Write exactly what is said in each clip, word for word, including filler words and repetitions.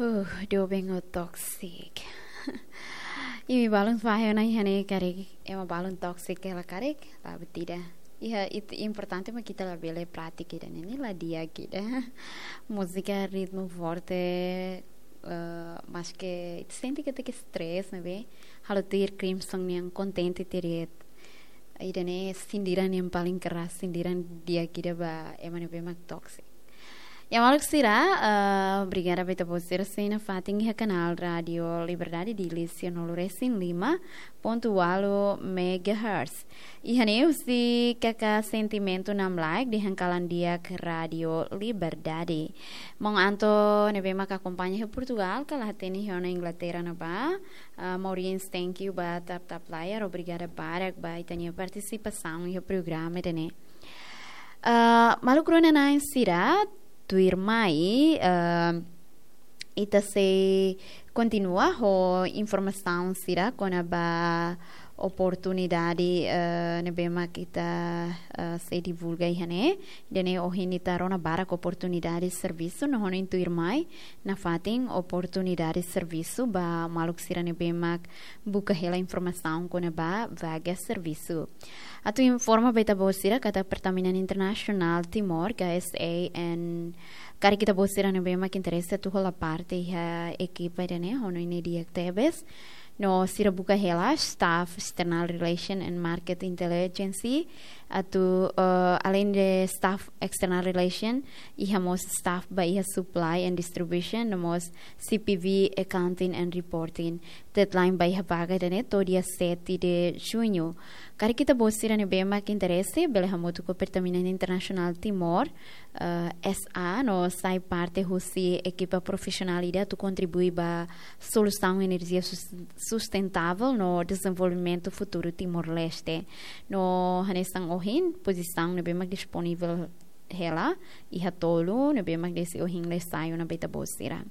Uh, doben ho toxic. Imi balun fahe ona iha ne'e karik, ema balun toxic hela karik, la buat ida. Iha, ita importante mak ita labele pratika ida-ne'e, ne'e la di'ak ida. Múzika ritmu forte, eh, maske sente katak stress ne'ebé, halo tuir Crimson nian kontente tiha de'it. Ida-ne'e sindiran yang paling keras, sindiran di'ak ida ba ema ne'ebé mak toxic. Ya maluk sira, eh, obrigada ba ita-boot sira sei nafatin iha kanál Rádio Liberdade Dili sianulu resin lima pontu ualu megahertz. Iha ne'e husi K K Sentimentu Namlaik dehan kalan di'ak Rádio Liberdade. Maun Anto ne'ebé mak akompaña iha Portugal, ka la hatene iha ona Inglaterra ne'ebá. Ah, Maureen, thank you ba tap-tap layar, obrigada barak ba ita-nia partisipasaun iha programa ida-ne'e. Ah, maluk rona-na'in sira, tuirmai, ah, ita sei kontinua ho informasaun sira kona-ba oportunidade, eh, ne'ebé mak ita, eh, sei divulga iha ne'e. Ida-ne'e ohin ita rona barak oportunidade servisu, no ho nune'e tuirmai nafatin oportunidade servisu ba maluk sira ne'ebé mak buka hela informasaun kona-ba vaga servisu. Atu informa ba ita-boot sira katak Pertamina International Timor, K S A, no karik ita-boot sira ne'ebé mak interese atu hola parte iha ekipa ida-ne'e, ho nune'e di'ak tebes. No sira buka hela staff external relation and market intelligence. Atu, eh, além de staff external relation, iha mós staff ba iha supply and distribution, no mós C P V, accounting and reporting. Deadline ba iha vaga ida-ne'e to'o dia sete de junho. Karik ita-boot sira ne'ebé mak interese, bele hamutuk ho Pertamina International Timor, eh, S A, no sai parte husi ekipa profisionál ida atu kontribui ba solusaun enerjia sus-, sustentável no dezenvolvimentu futuru Timor-Leste. No hanesan ohin, pozisaun ne'ebé mak disponivel hela, iha tolu, ne'ebé mak desde ohin la'e sai ona ba ita-boot sira.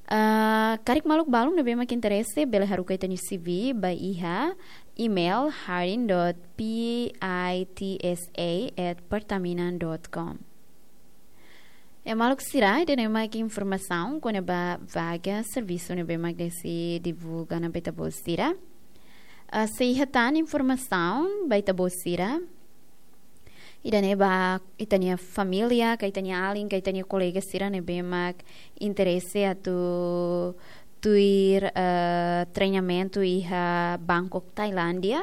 Ah, karik maluk balun ne'ebé mak interese, bele haruka ita-nia C V ba iha email hiring dot P I T S A at pertamina dot com. Ya maluk sira, ida-ne'e mak informasaun kona-ba vaga servisu ne'ebé mak desde divulga ona ba ita-boot sira. Ah, sei iha tan informasaun ba ita-boot sira. Ida-ne'e ba ita-nia família, ka ita-nia alin, ka ita-nia kolega sira ne'ebé mak interese atu tuir, eh, treinamentu iha Bangkok, Tailándia.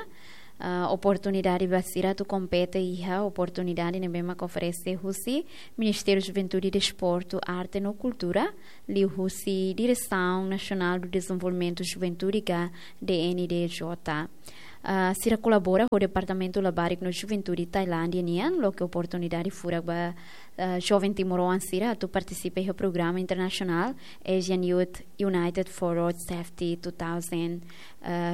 Eh, oportunidade ba sira atu kompete iha oportunidade ne'ebé mak oferese husi Ministériu Juventude, Desportu, Arte no Kultura, liuhusi Diresaun Nasionál do Dezenvolvimentu Juventude ka D N D J. Ah, sira kolabora ho Departamentu Labarik no Juventude Tailándia nian, loke oportunidade furak ba, ah, joven timoroan sira atu partisipa iha programa internasionál Asian Youth United for Road Safety two thousand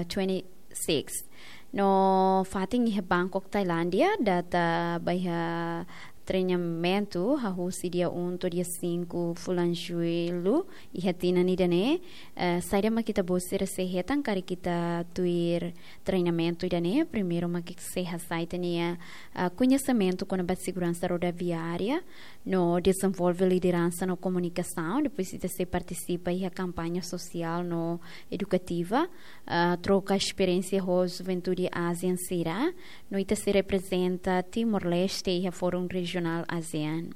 twenty-six. No fatin iha Bangkok, Tailándia, data ba iha treinamentu hahú husi dia um to'o dia cinco fulan Jullu iha tinan ida-ne'e. Eh, saida mak ita-boot sira sei hetan karik ita tuir treinamentu ida-ne'e? Primeiru mak ita sei hasai ita-nia, ah, koñesimentu kona-ba seguransa rodoviária, no dezenvolve lideransa no komunikasaun, depois ita sei partisipa iha kampaña sosiál no edukativa, ah, troka esperiénsia ho juventude ASEAN sira, no ita sei reprezenta Timor-Leste iha Fórum Rejionál ASEAN.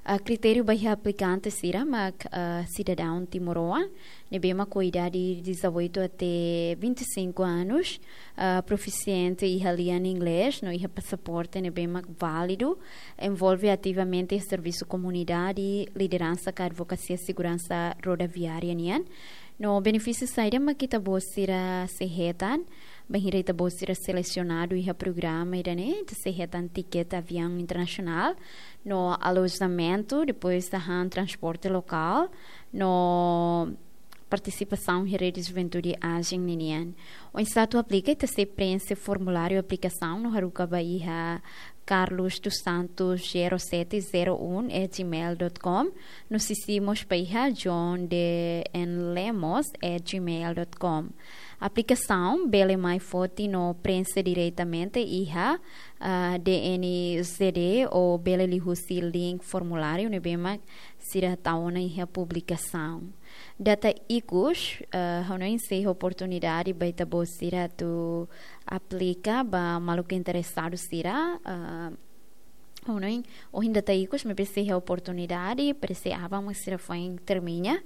Ah, kritériu ba iha aplikante sira mak, ah, sidadaun timoroan ne'ebé mak ho idade dezoito até vinte e cinco anos, ah, profisiente iha lian inglés, no iha pasaporte ne'ebé mak válidu, envolve ativamente servisu komunidade, lideransa ka advokasia seguransa rodoviária nian. No benefísiu saida mak ita-boot sira sei hetan? Bainhira ita-boot sira selesionadu iha programa ida-ne'e, ita sei hetan tikete aviaun internasionál, no alojamentu, depois ita han transporte lokál, no partisipasaun iha rede juventude ASEAN ninian. Oinsá atu aplika, ita sei preenxe formuláriu aplikasaun no haruka ba iha carlos dos santos zero sete zero um at gmail dot com, no sisi mós ba iha john d n lemos at gmail dot com. Aplikasaun bele mai foti no prenxe diretamente iha, ah, D N Z D ou bele liuhusi link formuláriu ne'ebé mak sira tau ona iha publikasaun. Data ikus, ah, ha'u hanoin sei iha oportunidade ba ita-boot sira atu aplika ba maluk interesadu sira, ah, ha'u hanoin ohin data ikus, maibé sei iha oportunidade, parese aban mak sira foin termina.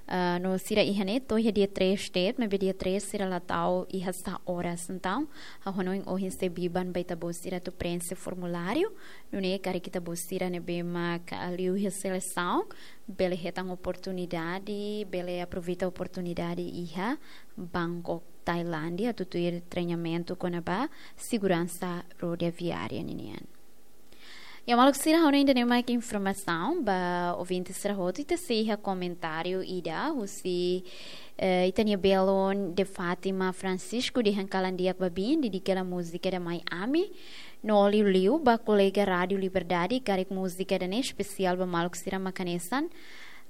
Ah, no sira iha ne'e to'o iha dia três de'it, maibé dia três sira la tau iha sá oras. Entaun, ha'u hanoin ohin sei biban ba ita-boot sira atu prenxe formuláriu. Nune'e karik ita-boot sira ne'ebé mak liu iha selesaun, bele hetan oportunidade, bele aproveita oportunidade iha Bangkok, Tailándia, atu tuir treinamentu kona-ba seguransa rodoviária ninian. Ya, maluk sira, ha'u hanoin ida-ne'e mak informasaun ba ouvinte sira hotu. Ita sei iha komentáriu ida husi, eh, ita-nia belun De Fátima Francisco dehan kalan di'ak ba biin, dedika hela múzika ida Mai Ami. No liuliu ba kolega Rádiu Liberdade, karik múzika ida-ne'e espesiál ba maluk sira mak hanesan,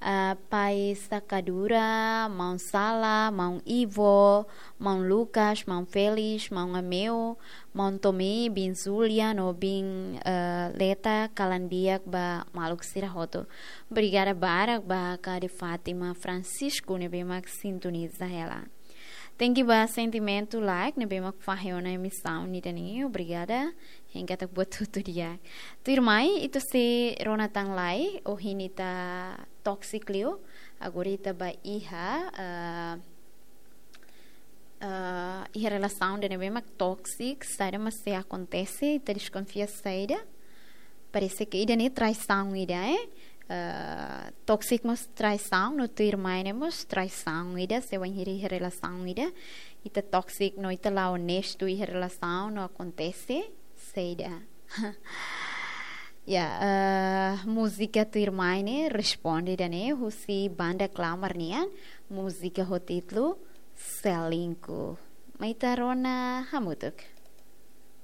ah, Pai Sakadura, Maun Sala, Maun Ivo, Maun Lucas, Maun Félix, Maun Ameu, Maun Tomé, Biin Zulia no Biin, eh, Leta, kalan di'ak ba maluk sira hotu. Obrigada barak ba ka De Fátima Francisco ne'ebé mak sintoniza hela. Tenke ba sentimentu laek ne'ebé mak fahe ona emisaun ida-ne'e. Obrigada. Hein katak buat hotu di'ak. Tuirmai, ita sei rona tan lai, ohin ita toxic liu. Agora ita ba iha, ah, ah, iha relasaun ida ne'ebé mak toxic, saida mak sei akontese, ita deskonfia saida. Parese ke ida-ne'e traisaun ida, eh? Ah, toxic mós traisaun, no tuirmai ne'e mós traisaun ida, se wainhira iha relasaun ida ita toxic no ita la onestu iha relasaun, no akontese saida. Ya, eh, múzika tuirmai ne'e responde ida-ne'e husi banda Klamar nian, múzika ho títulu Selingkuh. Mai ita rona hamutuk.